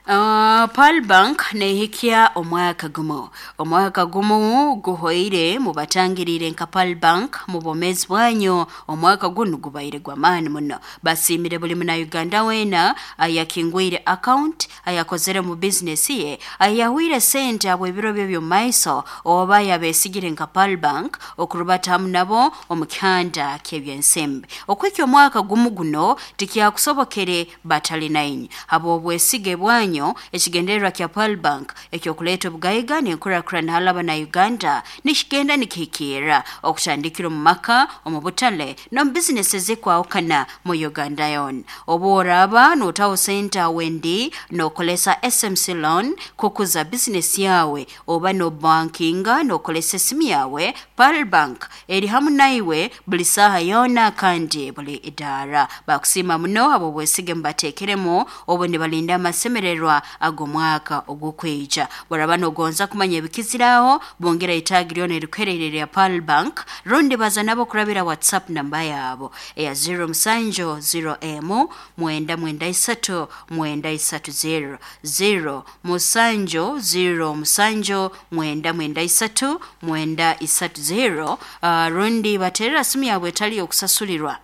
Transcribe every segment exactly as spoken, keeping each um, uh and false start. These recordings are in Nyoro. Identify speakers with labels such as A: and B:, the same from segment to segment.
A: Uh, Pearl Bank nehikya omwaka gumu omwaka gumu guhoire mubatangirire nka Pearl Bank mu bwomezi bwanyu. Omwaka gunu gubaire gw'amaani muno. Basimire buli muna Uganda wena ayakingwire account, ayakozere mu business ye, ayahwire sente abo ebiro bye by'omumaiso, oba yabesigire nka Pearl Bank okurubata hamu nabo omu kihanda ky'ebyensimbi. Okwikya omwaka gumu guno tikyakusobokere batali nainye habw'obwesige bwanyu. Ekigendererwa kya Pearl Bank ekyokuleeta obugaiga n'enkurakurana halaba na Uganda nikigenda nikihikirra okutandikira omu maka, omu butale n'omu bizinesi ezikwahukana mu Uganda yoona. Obu oraaba nootaho sente awendi nookolesa S M C loan kukuza bizinesi yawe, oba nobankinga nookolesa esimu yawe, Pearl Bank eri hamu naiwe buli saaha yoona kandi buli idaara. Bakusiima muno habw'obwesige mubateekeremu obu nibalinda amasemererwa ag'omwaka ogw'okwija. Baraba nogonza kumanya ebikiziraho, bongera itaagi lyona erikuhererera ya Pearl Bank, rundi baza nabo kurabira WhatsApp namba yabo eya zero musanju zero emu mwenda mwenda isatu mwenda isatu zero zero musanju zero musanju mwenda mwenda isatu mwenda isatu zero. Uh, rundi baterera simu yabwe etali okusasulirwa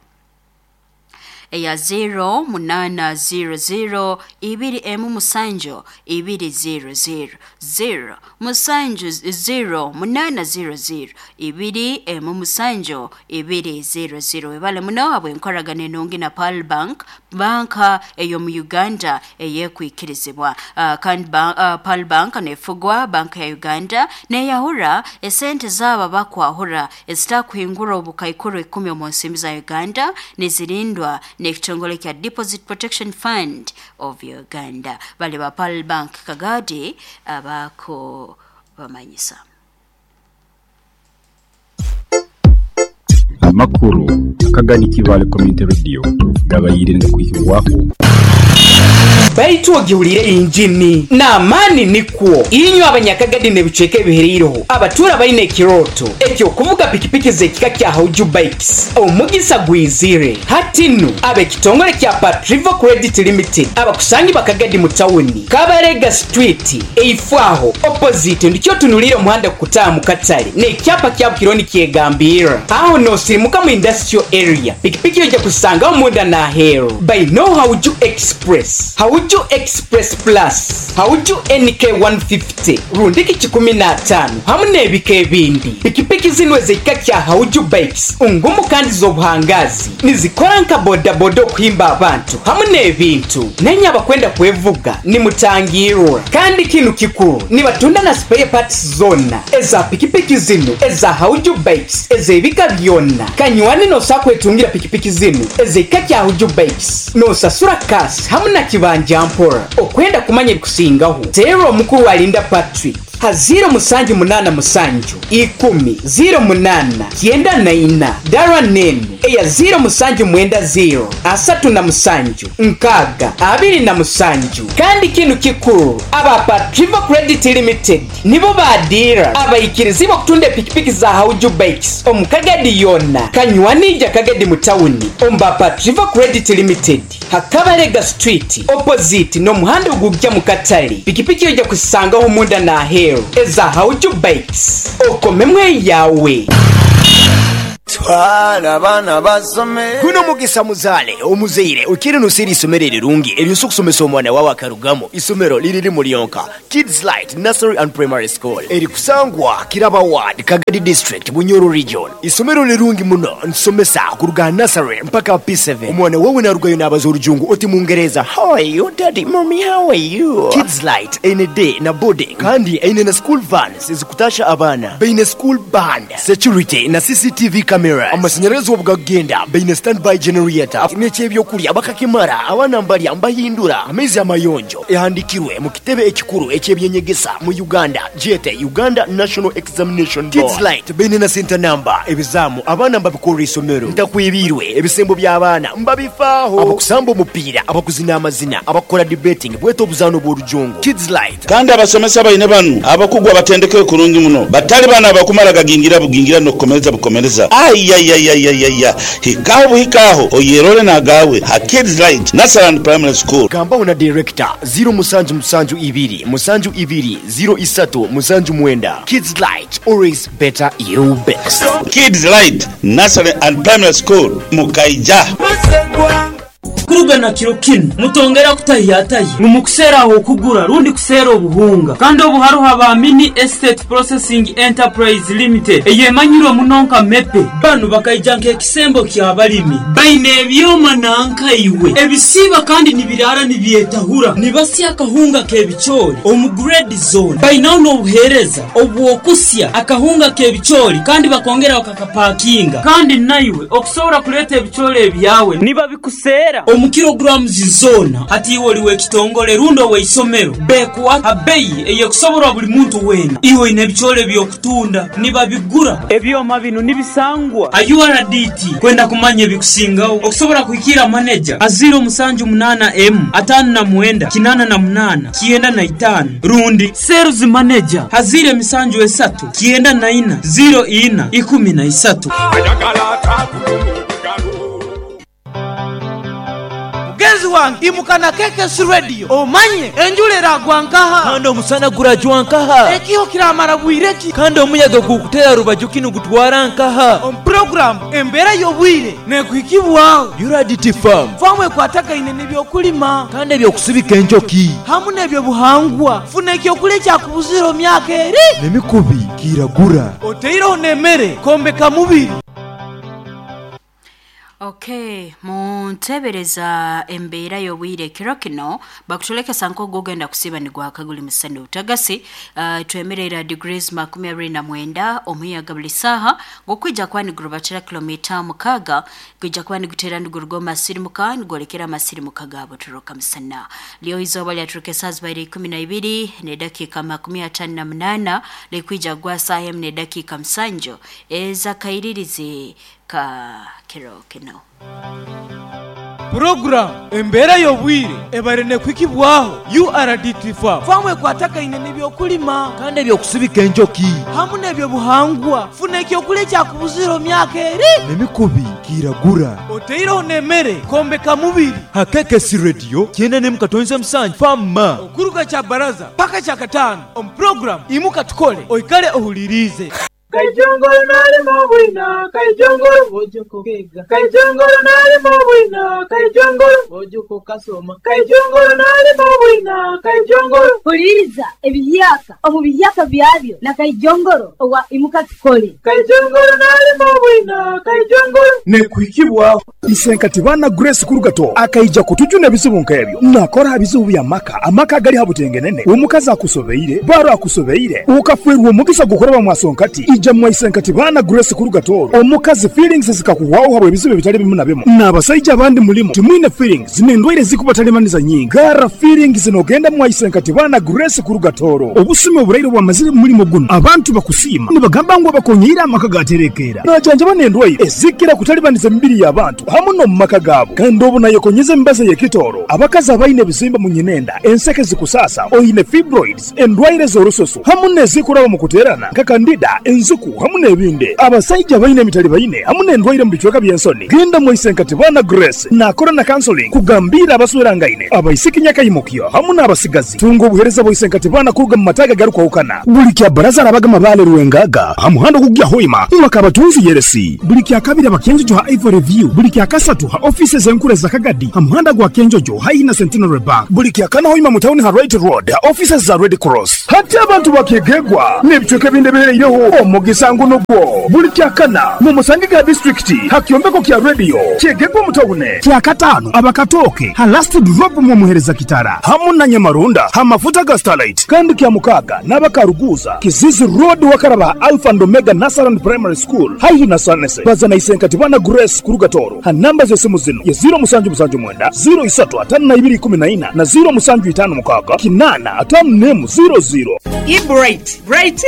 A: eya zero munana zero zero ibiri emu musanju ibiri zero zero zero musanju zero munana zero zero ibiri emu musanju ibiri zero zero. Webale muno habw'enkoragana enungi na Pearl Bank, banka ey'omu Uganda eyekwikirizibwa. Uh, kandi ba, uh, Pearl Bank nefugwa banka ya Uganda neyahura esente zaba bakwahura ezitakuhingura obukaikuru ikumi omu nsimbi za Uganda, nizirindwa n'ekitongole kya Deposit Protection Fund of Uganda. Bali ba Pearl Bank Kagadi abako bamanyisa.
B: Amakuru Kagadi Kivale Community Radio gabayirinde kuhirwaho.
C: Baitu ogihulire injini n'amaani nikwo inywe abanyakagadi n'ebicweka ebihereireho abatuura baine ekiroto ekyokuvuga pikipiki z'ekika kya Hauju Bikes. Omugisa gwizire hatinu ab'ekitongole kya Patrivo Credit Limited abakusangi bakagadi mu tawuni Kabarega Street eifwaho opposite ndikyo tunulire omuhanda kukutaaha mu katale n'ekyapa kya Bukironi kyegambira aho nosirimuka mu industrial area. Pikipiki ojja kusangaho munda n'aheeru by no Hauju Express, Hauju Express Plus, Hauju N K one fifty, rundiki kikumi na tano hamu n'ebika ebindi. Pikipiki zino ez'ekika kya Hauju Bikes ngumu kandi z'obuhangazi, nizikora nka bodaboda okuhimba abantu hamu n'ebintu. Nenye abakwenda kwevuga nimutangirwa. Kandi kinu kikuru nibatunda na spare parts zona eza pikipiki zino eza Hauju Bikes ez'ebika byonna. Kanywani nosa kwetungira pikipiki zino ez'ekika kya Hauju Bikes nosasura kasi hamu na kibanja mpora. Okwenda kumanya ebikusingaho teera omukuru alinda Patrick ha zero musanju munana musanju ikumi zero munana kyenda na ina dara nenu eya zero musanju mwenda zero asatu na musanju nkaga abiri na musanju. Kandi kinu kikuru aba Patrivo Credit Limited nibo badira abaikirizibo kutunda pikipiki za Hauju Bikes omukagadi yonna kanywanija Kagadi mu tawuni omba Patrivo Credit Limited Hakabarega Street opposite n'omuhanda ogujja mu katale. Pikipiki ojja kusangaho munda na aheeru eza Hauju Bikes okomemwe yawe.
D: Twala abaana basome.
E: Guno mugisa muzaale omuzaire okiri nusiri isomero erirungi eryosa okusomesa omwana wawe akarugamo. Isomero liriri mulyonka Kids Light Nursery and Primary School erikusangwa Kiraba Ward, Kagadi District, Bunyoro Region. Isomero lirungi muno nsomesa kuruga nursery mpaka P seven. Omwana wawe narugayo n'abaza orujungu oti Mungereza, how are you daddy, mommy, how are you? Kids Light ene day na boarding kandi ene na school vans ezikutasha abaana, baine school band, security na C C T V cameras, amashanyarazi obugagenda, baine standby generator n'ekyebyokulya bakakimara abaana mbalya mbahindura amaizi amayonjo. Ehandikirwe mu kitebe ekikuru ekyebyenyegesa mu Uganda jete Uganda National Examination Board. Kids Light baine na center number ebizamu abaana mbabikorera isomero ntakwibirwe ebisembo by'abaana mbabifaaho, abakusamba omupiira, abakuzina amazina, abakora debating bweta obuzaano bw'orujungu. Kids Light
F: kandi abasomesa baine banu abakugwa batendeke kurungi muno batali bana abakumara gagingira bugingira n'okukomereza bukomereza.
D: Ayayayayaya, hikaho buhikaho oyerole nagawe ha Kids Light Nursery and Primary School.
E: Gambaho na director zero musanju musanju ibiri musanju ibiri zero isatu musanju mwenda. Kids Light, always better you best.
D: Kids Light Nursery and Primary School Mukaija.
F: Kuruga kiro kinu mutongera kutahiyatayi mumukusera aho kugura rundi kusera obuhunga kandi obuharuha ba Mini Estate Processing Enterprise Limited eyemanyirwe munonka mepe banu bakaija nk'ekisembo ky'abalimi baine ebyoma nankaiwe ebisiba kandi nibirara nibyetahura nibasya akahunga k'ebicoori omu grade zone bainaho n'obuheereza obwokusya akahunga k'ebicoori kandi bakongera bakakapakinga kandi naiwe okusobora kuleeta ebicoori ebyawe nibabikusera omu kilograms zona hati iwe oliwe ekitongole rundo weisomero bekuwa abeyi eyekusoborwa buli muntu wena iwe ine ebicoori ebyokutunda nibabigura ebyoma bino nibisangwa a U R D T kwenda kumanya ebikusingaho okusobora kuhikira manager aziro musanju munana m atano na mwenda kinana na munana kienda na itano rundi sales manager hazire misanju esatu kienda na ina zero ina ikumi na isatu.
G: Mugenzi wange imukana K K S Radio omanye enjura eragwa nkaha
H: kandi omusana gurajwa nkaha
G: ekiho kiramara bwireki
H: kandi omuyaga gukutera rubaju kinu gutwara nkaha
G: omu program embeera y'obwire nekuhikibwaho
H: U R D T farm
G: famu ekwatagaine n'ebyokulima
H: kandi ebyokusibika enjoki
G: hamu n'ebyobuhangwa funa ekyokulya ekyakubuzira omyaka eri
H: n'emikubi kiragura
G: oteireho n'emmere kombeka mubiri.
A: Okay, muntebereza embeera y'obwire kiro kino bakutulekesa nkogo ogenda kusiba nigwaka guli musana utagasi uh, twemerera degrees makumi abiri na mwenda omuyaga buli saha gokwija kwani gurubatira kilomita mukaga gwija kwani gutera nigurugo masirimuka nigolekera masirimuka gabo turuka musana leo izoba lyaturuka saa zibaire ikumi na ibiri ne dakika makumi atano na munana likwija gwa saha emu ne dakika msanjo eza kairirizi ka kiro kino.
G: Program embeera y'obwire ebare nekwikibwaho U R D T farm famu ekwatagaine n'ebyokulima
H: kandi ebyokusibika enjoki
G: hamu n'ebyobuhangwa funa ekyokulya ekyakubuzira omyaka eri
H: n'emikubi kiragura
G: oteireho n'emmere kombeka mubiri
H: ha K K S Radio kyenda nemu katonze musanju fama
G: okuruga kya baraza paka kya katano omu program imuka tukole oikale ohulirize.
I: Kaijongolo nalimo bwina, kaijongolo bojoko kega. Kaijongolo nalimo bwina, kaijongolo bojoko kasoma. Kaijongolo nalimo bwina, kaijongolo.
J: Huliriza ebiyaka omu biyaka byabyo na kaijongolo owa imuka tukole.
I: Kaijongolo nalimo bwina, kaijongolo.
K: Nekuhikibwaho Isenkati bana Grace Kurugato akaija kutujuna ebizibu nk'ebyo nakora ebizibu bya maka amaka gali habutengenene omukazi akusobeire baro akusobeire ukafwerwa omugisa gukoraba mwasonkati ija mwaisenkati bana Grace Kurugato omukazi feelings zikakuwaho habwe ebizibu bitali bimu na bimu n'abasajja abandi mulimu timwine feelings n'endwaire zikubatalimaniza nyingi gara feelings nogenda mwaisenkati bana Grace Kurugatoro obusime oburaire bwamazire mulimo guno abantu bakusiima nibagamba ngu abakonyera amaka gaterekera najanja banendwaire ezikira kutalibaniza emibiri y'abantu hamu no mu maka gaabo kandi obu nayekonyeza emibazi y'ekitooro abakazi abaine ebizimba mu nyinenda enseke zikusasa oine fibroids endwaire z'orususu hamu n'ezikuraba mu kuteerana nka kandida enzuku hamu n'ebindi abasajja baine emitali baine hamu n'endwaire mu bicweka by'ensoni genda mwaisenkati bana Grace nakora na counseling kugambira abaswerangaine abaisiki nyakayimukyo hamu n'abasigazi tunga obuhereza bwaisenkati bana kuruga mu mataga garukwahukana buli kya baraza arabaga mabale ruwengaga ha muhanda gugya hoima mwakabatunzi yeresi buli kya kabiri abakenjojo ha Ivory View buli kya kasatu ha offices enkure za Kagadi ha muhanda gwa Kenjojo haina Centenary Bank buli kya kana hoima mu town ha Right Road ha offices za Red Cross hati abantu bakegegwa n'ebicweka ebindi ebihereireho omugisa ngunugwo buli kya kana mu Musangiga district ha kyombeko kya radio kyegegwa mu town kya katano abakatoke ha last drop mu muhereza kitara hamu na Nyamarunda ha mafuta ga Starlight kandi kya mukaga n'abakaruguza Kizizi Road wakaraba Alpha and Omega Nursery and Primary School haihi na Sanese bazana isenkati bana Grace Kurugatoro ha namba z'esimu zino ya zero musanju musanju mwenda zero isatu atano na ibiri ikumi na ina na zero musanju itano mukaga kinana atano nemu zero zero.
C: I Bright, Bright,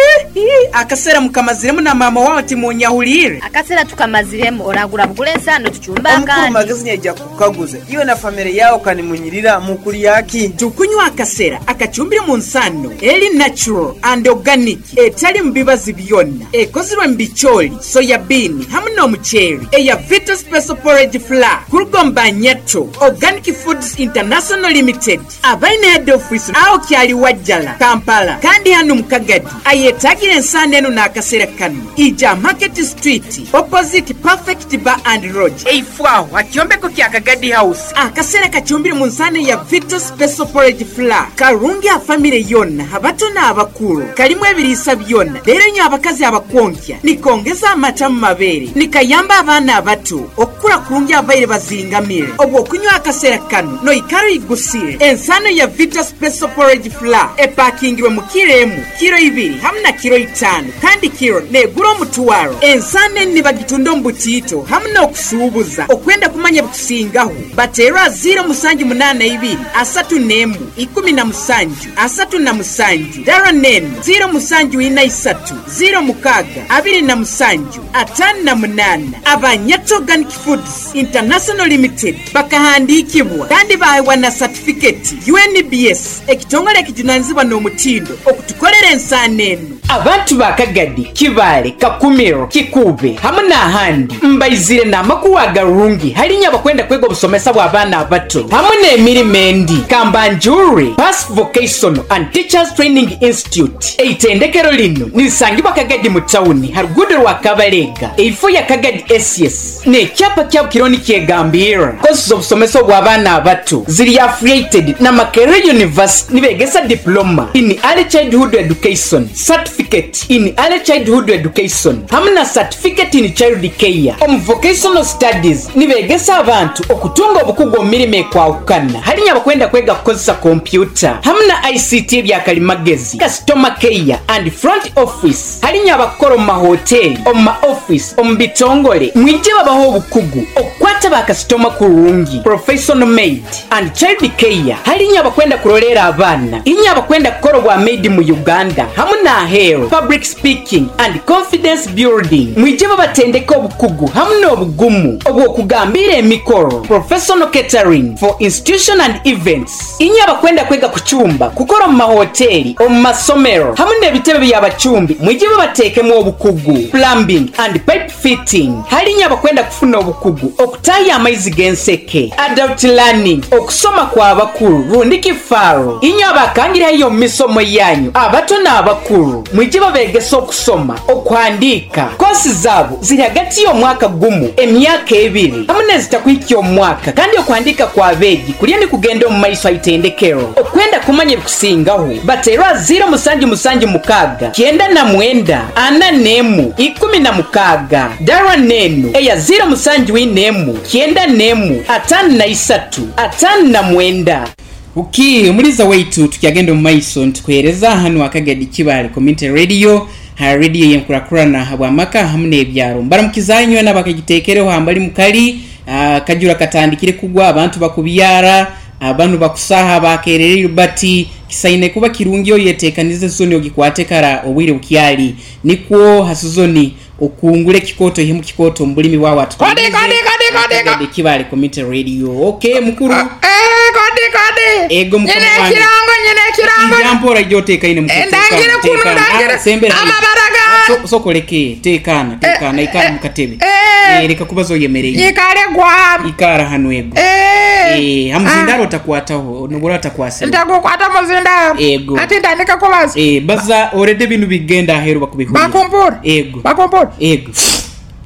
C: akasera mukamaziremu na mama wawe timunyahulire.
L: Akasera tukamaziremu oragura bugule ensano tuchumba
M: Omukuru
L: kandi.
M: Magezi yaija kukaguza iwe na family yao kanimunyirira mukuri yaki.
C: Tukunywa akasera akachumbire mu nsano eri natural and organic etali mubibazi byonna ekozirwe mu bicholi soya bean hamwe n'omuceeri eya Vita Special Porridge Flour kurugomba Nyato Organic Foods International Limited abaine head office aho kyali Wajjala Kampala kandi hano mukagadi ayetagire ensano eno n'akasera kano ija Market Street opposite Perfect Bar and Lodge eifwaho akyombeko kya Kagadi House. Akasera kachumbire mu nsano ya Vita Special Porridge Flour karungi a family yonna abato n'abakulu kalimu ebiriisa byonna leero nyo abakazi abakonkya nikongeza amata mu mabeere nikayamba abaana abato okukula kurungi abaire bazingamire obwo okunywa akasera kano noikaro igusire. Ensano ya Vita Special Porridge Flour epakingirwe mu kiro emu kiro ibiri hamwe na kiro itano kandi kiro negura omutwaro. Ensano eni nibagitunda omu butiito hamwe n'okusuubuza okwenda kumanya bikusingaho bateerwa ziro musanju munaana ibiri asatu n'emu ikumi na musanju asatu na musanju dara nenu ziro musanju ina isatu ziro mukaga abiri na musanju atano na munana. Abanyato Organic Foods International Limited bakahandikibwa kandi bahewa na certificate U N B S ekitongole ekijunanizibwa n'omutindo okutukolera ensano eno. Abantu ba Kagadi, Kibale, Kakumiro, Kikube hamwe n'ahandi mbaizire n'amakuru agarungi halinya abakwenda kwega obusomesa bw'abaana abato hamwe n'emirimo endi. Kambanjure Pass Vocational and Teachers Training Institute eitendekero lino nilisangibwa Kagadi mu tawuni harugudo rwa Kabalega eifo ya Kagadi S S n'ekyapa kyabo kironi kyegambira kosi z'obusomesa bw'abaana abato ziri affiliated na Makerere University nibegesa diploma in early childhood education, certificate in early childhood education hamwe na certificate in child care. Omu vocational studies nibegesa abantu okutunga obukugu omu mirimo ekwahukana halinya abakwenda kwega kukozesa kompyuta hamwe na I C T ebyakalimagezi, customer care and front office halinya abakora omu mahoteli, omu ma office, omu bitongole mwije babaho obukugu okukwata bakasitoma kurungi, professional maid and child care halinya abakwenda kurolera abaana inya abakwenda kukora obwa maid mu Uganda hamwe na ahero, public speaking and confidence building mwije babatendeka obukugu hamwe n'obugumu obw'okugambira emikoro, professional catering for institution and events inya abakwenda kwega kuchumba kukora mu mahoteli omu masomero hamwe n'ebitebe by'abachumbi mwije babateekemu obukugu, plumbing and pipe fitting halinya abakwenda kufuna obukugu okutaya amaizi g'enseke, adult learning okusoma kw'abakulu rundi kifaro inya abakangirayo mu misomo yanyu abato n'abakulu mwije babegesa okusoma okuhandika. Kosi zaabo ziri hagati y'omwaka gumu emyaka ebiri hamwe n'ezitakuhikya omwaka kandi okuhandika kw'abeegi kulya ni kugenda omu maiso aitendekero. Okwenda kumanya ebikusingaho bateerwa ziro musanju musanju mukaaga kyenda na mwenda ana n'emu ikumi na mukaaga dara nenu eya ziro musanju ina emu kyenda n'emu atano na isatu atano na mwenda. Uki omuliza waitu tukyagenda omu maiso nitukuhereza hanu Akagadi Kibale Community Radio ha radio yenkurakurana habwamaka hamwe n'ebyaro mbaramukizanywe n'abakagitekereho hambali mukali uh, kajura katandikire kugwa abantu bakubyara abantu bakusaha bakererere bati kisaine kuba kirungi oyetekanize soni ogikwate kara obwire bukyali nikwo hasuzoni okungule kikoto himu kikoto mbulimi wawa
N: kodi kodi kodi kodi
C: Kibale Community Radio. Okay mukuru
N: eh kodi kodi
C: ego mukuru
N: nyine kirango nyine kirango
C: jampora joteka ine mukuru
N: ndangire kunu ndangire amabaraga
C: sokoleke tekana tekana ikara mukatebe eh reka kubazo yemereye
N: ikare gwa
C: ikara hanu ego eh hamuzindaro utakwataho nobora utakwasa
N: ndakukwata muzindaro
C: ego
N: ati ndandika kubaza
C: eh baza already binu bigenda ahero bakubihura
N: bakumpura
C: ego
N: bakumpura
C: ego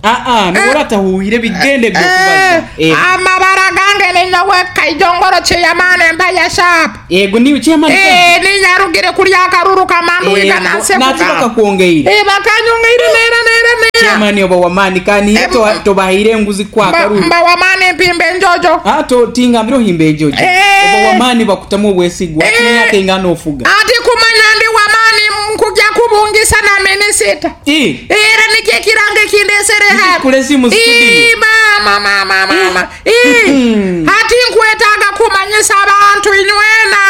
C: ah ah nobora atahuhire bigende byo kubaza
N: ego amabara gange ni nyawe kayijongoro chiyamane mbaya sharp
C: ego ni chiyamane
N: eh ni nyarugire kulya karuru kamandu ikanase
C: natuka kuongeire
N: eh bakanyongeire nera nera nera
C: chiyamane oba wamani kani to tobahire nguzi kwa karuru
N: mba wamani mpimbe njojo
C: ah to tinga mbiro himbe njojo oba wamani bakutamu obwesigwa atinya kengano ofuga
N: ati kumanya ndi wamani mkujja kubungisa na minisita
C: eh
N: era nikye kirange kindesere hapa
C: kulesi mu studio
N: mama mama mama eh ati nkwetaga kumanyisa abantu inywena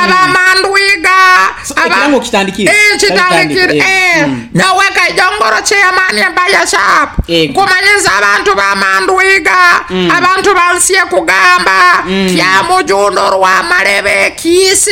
N: abamandwiga Ndwiga
C: Ekirango kitandikire.
N: Eh, kitandikire eh
C: Mm.
N: Nyowe Kaijongoro chairman Empire Shop
C: Ego.
N: Nkumanyiza abantu b'amandwiga
C: Mm.
N: abantu bansiye kugamba
C: Mm.
N: Kyamujundo Rwamalebe Kiisi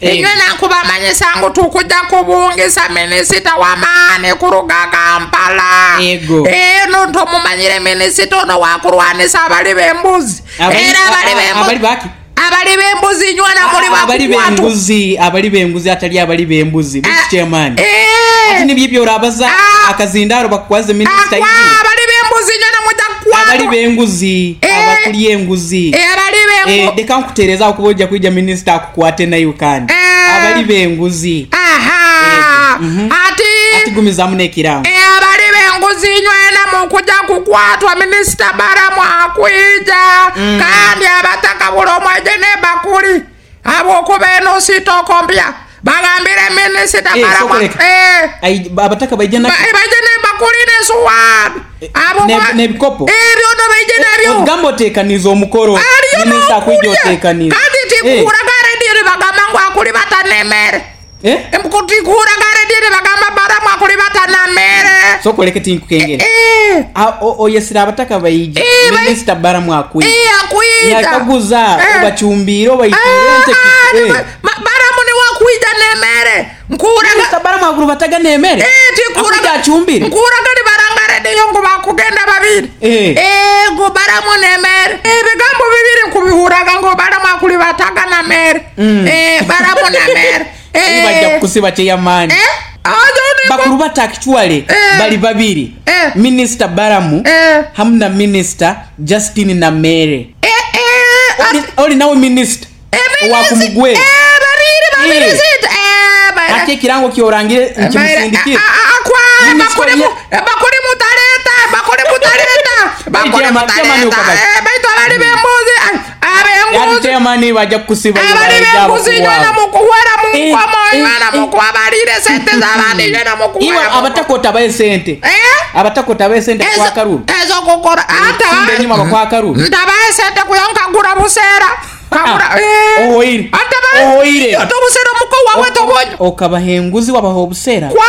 C: Ego.
N: Inywe nankubamanyisa ngu tukujja kubungisa minisita w'amaani kuruga Kampala.
C: Ego.
N: Eno ntomumanyire minisita ono wakulwanisa abali b'embuzi
C: Abali-
N: era abali
C: a- a-
N: b'embuzi
C: abali baki?
N: Abali b'embuzi nywana muli
C: Abali
N: bakukwatwa.
C: b'embuzi, abali b'embuzi atali abali b'embuzi. Biki chairman?
N: Eh.
C: Ati nibyo byorabaza akazindaro bakukwaze minisita
N: Akwa
C: izi.
N: abali b'embuzi nywana mujja kukwatwa.
C: Abali b'enguzi, abakulya enguzi.
N: Eh, abali b'engu-
C: Eh, leka nkuteereza akuba ojja kwijja minisita akukwate nayo kandi. Abali b'enguzi.
N: Aha. Ati
C: Ati gumizaamu n'ekirango.
N: Eh, abali b'enguzi nywena mukujja kukwatwa minisita Baramu akwija
C: Mm.
N: kandi abataka buli omweje n'ebakuli habwokuba eno sitoko mpya bagambire minisita
C: Eh,
N: Baramu
C: sokoleka.
N: eh,
C: Ai- abataka baija na
N: ba- eh, baije n'ebakuli n'esuwaani
C: ne- n'ebikopo.
N: ebyono baije nabyo
C: Ogamba oteekaniza omukolo.
N: Aliyo
C: Minisita akwija
N: n'okulya.
C: oteekaniza.
N: Kandi
C: Eh.
N: tikuuraga rediyo nibagamba ngu akulibata n'emmere
C: Eh?
N: tikuuraga rediyo nibagamba Baramu akulibata n'emmere
C: Sokoleke tinkukengera.
N: Eh.
C: A- o- oyesera abataka baija.
N: Eh, bai-
C: Minisita Baramu akwija.
N: Eh, akwija.
C: Yakaguza
N: Eh.
C: obacumbire obaitire ente. Eh.
N: Ma- Baramu niwakwija n'emmere nkuuraga
C: Minisita Baramu akulubataga n'emmere.
N: Eh, tikuuraga
C: Akwija acumbire.
N: nkuuraga nibaranga rediyo ngu bakugenda babiri
C: Eh.
N: Eh, ngu Baramu n'emmere ebigambo bibiri nkubihuraga ngu Baramu akulibataga na mmere
C: Mm.
N: Eh, Baramu na mmere
C: Ayi bajja kukusiba chairman. Bakulu bata actually bali babiri. Minisita Baramu hamu na Minisita Justin Namere. Oli- Oli nawe minisita owakumugwe.
N: Babiri babiri
C: Eh.
N: zita Eh, ba-
C: Ate ekirango kyorangire nkimusindikire.
N: akwa
C: Minisita
N: bakuli mu-
C: ye-
N: bakuli mutaleta bakuli mutaleta bakuli
C: Chairman- chairman
N: mutaleta
C: ukabali.
N: Eh, baitu abali b'embuzi
C: Ati
N: ab'enguzi
C: chairman bajja kukusiba
N: abali b'embuzi nywena mukuwera mu
C: Eh,
N: nkomo
C: eh,
N: nywena mukubabalire sente z'abandi nywena
C: Iwe
N: mukuwera mu
C: abataka otabaye sente. Abataka otabaye sente kwa kalulu.
N: ezokukora
C: Simba enyuma bakwa kalulu.
N: ntabaye sente kuyo nkagura buseera kagura eh.
C: Ohoire. Ohoire.
N: Ate obuseera omuko waabwe tobonye
C: Okabaha enguzi wabaha obuseera.
N: Kwa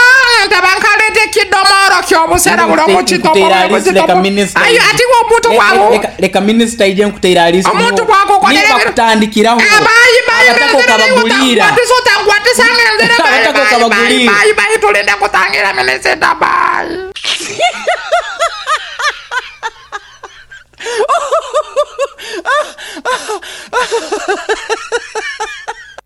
N: ntaba nkaleta ekidomoro ky'obuseera buli omu
C: Nkuteera alisi leka minisita
N: ayo
C: ije.
N: ati omuntu
C: Le-
N: bwabu
C: leka- Leka minisita ije nkuteera alisi.
N: Omuntu bwakukolera
C: Niba
N: ebiro-
C: kutandikiraho.
N: Abayi bayi
C: Abataka okabagulira.
N: ngwatisa otangwatisa ngenzere bayi
C: Abataka
N: bayi bayi
C: okabagulira.
N: bayi bayi tulinde kutangira minisita bayi.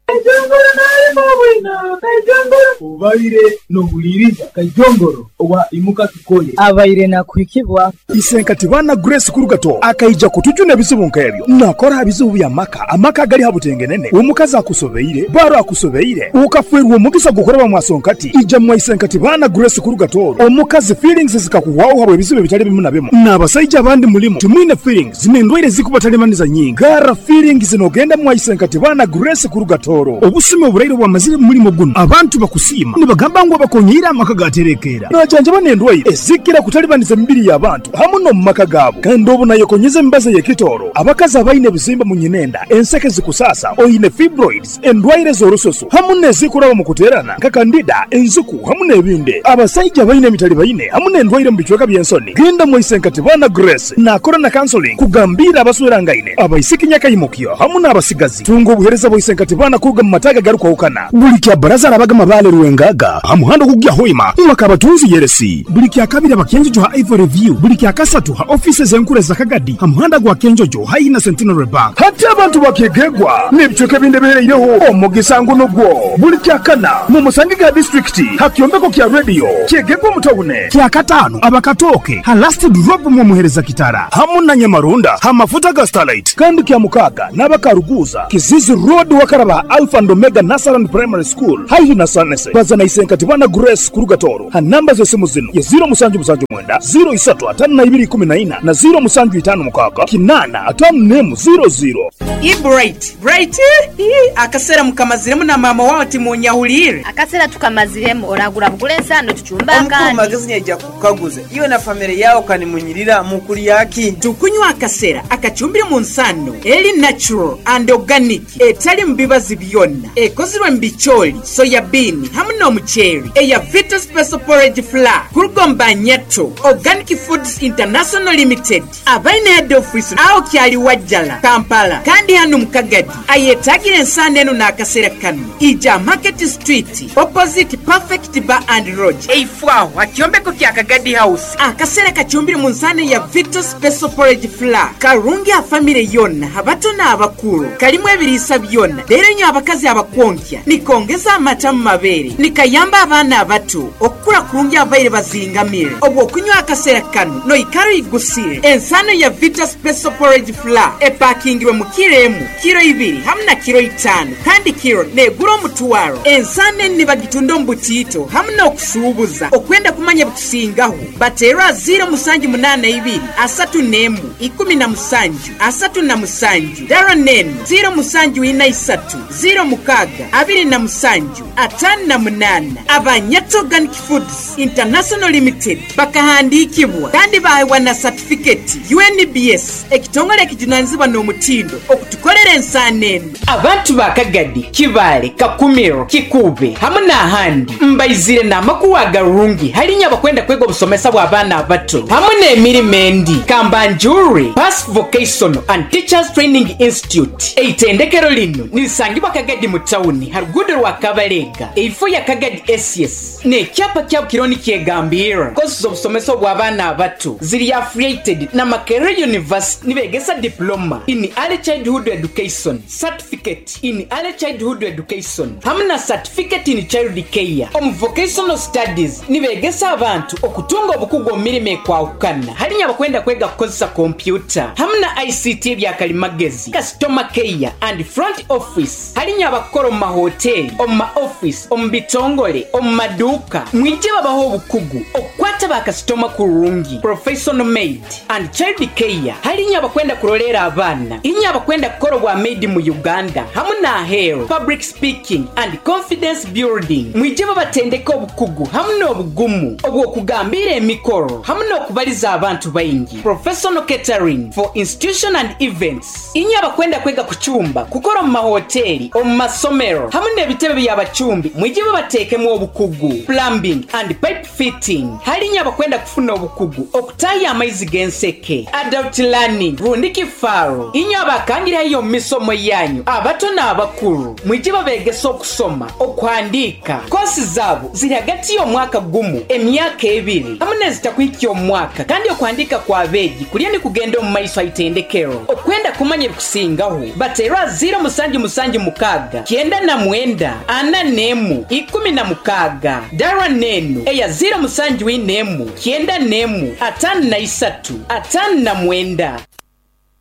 I: Kaijongoro nalima bwina Kaijongoro
O: Obaire nohuliriza Kaijongoro owa imuka tukole
P: abaire nakuhikibwa
K: Isenkati bana Grace Kurugato akaija kutujuna ebizibu nk'ebyo nakora bizibu bya maka amaka gali habutengenene omukazi akusobeire baro akusobeire ukafwerwa omugisa gukoreba mwasonkati ija mwa Isenkati bana Grace Kurugato omukazi feelings zikakuwawo habwe ebizibu ebitali bimu na bimu n'abasajja abandi mulimu timwine feelings n'endwaire zikubatalimaniza nyingi gara feelings nogenda mwa Isenkati bana Grace Kurugatoro obusumi oburaire bwamazire mu mulimo guno abantu bakusiima nibagamba ngu abakonyera amaka gaterekeera najanjaba n'endwaire ezikira kutalibaniza emibiri y'abantu hamu n'omu maka gaabo kandi obu nayekonyeza emibazi y'ekitooro abakazi abaine ebizimba mu nyinenda enseke zikusaasa oine fibroids endwaire z'orususu hamu n'ezikuraba mu kuteerana nka kandida enzuku hamu n'ebindi abasaija baine emitali baine hamu n'endwaire mu bicweka by'ensoni genda mwaisenkati bana Grace nakora na counseling kugambira abaswerangaine abaisiki nyakaimukyo hamu n'abasigazi tunga obuhereza bwaisenkati bana kuruga mu mataga garukwahukana buli kya baraza arabaga mabale ruwengaga hamuhanda kugya hoima mwakabatunzi yeresi buli kya kabiri abakenjojo ha Ivory View buli kya kasatu ha offices enkuru za Kagadi hamuhanda gwa Kenjojo haina Centenary Bank hati abantu bakegegwa n'ebicweka ebindi bihereireho omugisa ngu nugwo buli kya kana mu Musangiga district hakyombeko kya radio kyegegwa mutawune kya katano abakatoke ha last drop mu muhereza kitara hamu na Nyamarunda ha mafuta ga Starlight kandi kya mukaga n'abakaruguza Kizizi Road wakaraba Alpha and Omega Nasaran Primary School haihi na Sunset. yose baza na isenkati bana Grace kuruga Toro ha namba z'esimu zino ye ziro musanju musanju mwenda ziro isatu atano na ibiri ikumi na ina na ziro musanju itano mukaaga kinana atano nemu ziro ziro.
C: I bright bright ii akasera mukamaziremu na mama wawe timunyahulire.
L: Akasera tukamaziremu oragura bugule ensano tuchumba
M: Omukuru
L: akandi.
M: Magezi nyaija kukaguza iwe na family yawe kanimunyirira mukulyaki.
C: Tukunywa akasera akachumbire mu nsano eri natural and organic etali mu bibazi byonna ekozirwe mu bicholi soya bean hamwe n'omuceeri eya Vita Special Porridge Flour kurugomba Nyato Organic Foods International Limited abaine head office aho kyali Wajjala Kampala kandi hano mu Kagadi ayetagira ensano eno n'akasera kano ija Market Street opposite Perfect Bar and Lodge eifwaho akyombeko kya Kagadi House. Akasera kachumbire mu nsano ya Vita Special Porridge Flour karungi a family yonna abato n'abakulu kalimu ebiriisa byonna leero nnyo abakazi abakwonkya nikongeza amata mu mabeere nikayamba abaana abato okukula kurungi abaire bazingamire obwo okunywa akasera kano noikaro igusire. Ensano ya Vita Special Porridge Flour epakingirwe mu kiro emu kiro ibiri hamwe na kiro itaano kandi kiro negura omutwaro. Ensano eni nibagitunda omu butiito hamwe n'okusuubuza okwenda kumanya bikusingaho bateerwa ziro musanju munaana ibiri asatu n'emu ikumi na musanju asatu na musanju daro nenu ziro musanju ina isatu ziro mukaaga abiri na musanju atano na munaana. Abanyato Organic Foods International Limited bakahandiikibwa kandi baheebwa na satifiketi U N B S ekitongole ekijunanizibwa n'omutindo okutukolera ensaano eno. Abantu ba Kagadi, Kibaale, Kakumiro, Kikuube hamwe n'ahandi mbaizire n'amakuwa agarungi halinya abakwenda kwega obusomesa bw'abaana abato hamwe n'emirimo endi. Kambanjuri Pass Vocational and Teachers Training Institute eitendekero lino nilisangibwa Kagadi mu tawuni ha ruguudo rwa Kabalega eifo ya Kagadi S S n'ekyapa kyabo kironi kyegambira kosi z'obusomesa bw'abaana abato ziri affiliated na Makerere University nibegesa diploma in early childhood education, certificate in early childhood education hamwe na certificate in child care. Omu vocational studies nibegesa abantu okutunga obukugu omu mirimo ekwahukana halinya abakwenda kwega kukozesa kompyuta hamwe na I C T ebyakalimagezi, customer care and front office halinya abakora omu mahoteli, omu ma office, omu bitongole, omu maduuka mwije babaho obukugu okukwata bakasitoma kurungi. Professional maid and child care halinya abakwenda kurolera abaana inya abakwenda kukora obwa maid mu Uganda hamwe n'aheeru. Public speaking and confidence building mwije babatendeka obukugu hamwe n'obugumu obw'okugambira emikoro hamwe n'okubaliza abantu baingi. Professional catering for institution and events inya abakwenda kwega kuchumba kukora omu mahoteli, omu masomero hamwe n'ebitebe by'abachumbi mwije babateekemu obukugu. Plumbing and pipe fitting halinya abakwenda kufuna obukugu okutaya amaizi g'enseke. Adult learning rundi kifaro inya abakangirayo mu misomo yanyu abato n'abakulu mwije babegesa okusoma okuhandiika. Kosi zaabo ziri hagati y'omwaka gumu emyaka ebiri hamwe n'ezitakuhikya omwaka kandi okuhandiika kw'abeegi kulya ni kugenda omu maiso aitendekero. Okwenda kumanya ebikusingaho bateerwa ziro musanju musanju mukaaga kyenda na mwenda ana n'emu ikumi na mukaaga dara nenu eya ziro musanju ina emu kyenda n'emu atano na isatu atano na mwenda.